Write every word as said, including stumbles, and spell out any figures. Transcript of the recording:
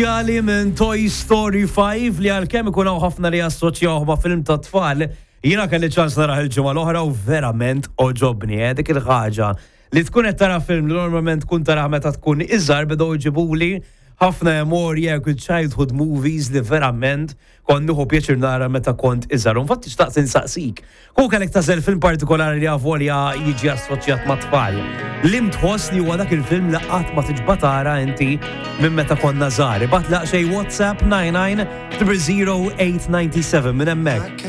Speċjali minn Toy Story five li għalkemm ikun hawn ħafna li jassoċjaw ma' film ta' tfal, jiena kelli ċans narah il-ġimgħa l-oħra u verament għoġobni, eh, dik il-ħaġa li tkun qed tara film li normalment tkun tara meta tkun iżgħar bdew iġibuli ħafna memorji, childhood movies li verament kont nieħu pjaċir nara meta kont iżgħar. Infatti xtaqt insaqsik. Kieku kellek tagħżel film partikolari li avolja jiġi assoċjat ma' tfal. Liem tħoss li huwa dak il-film li qatt ma tixba' tara inti minn meta konna żgħar? Ibgħat xi WhatsApp nine nine zero zero eight nine seven minn hemmhekk.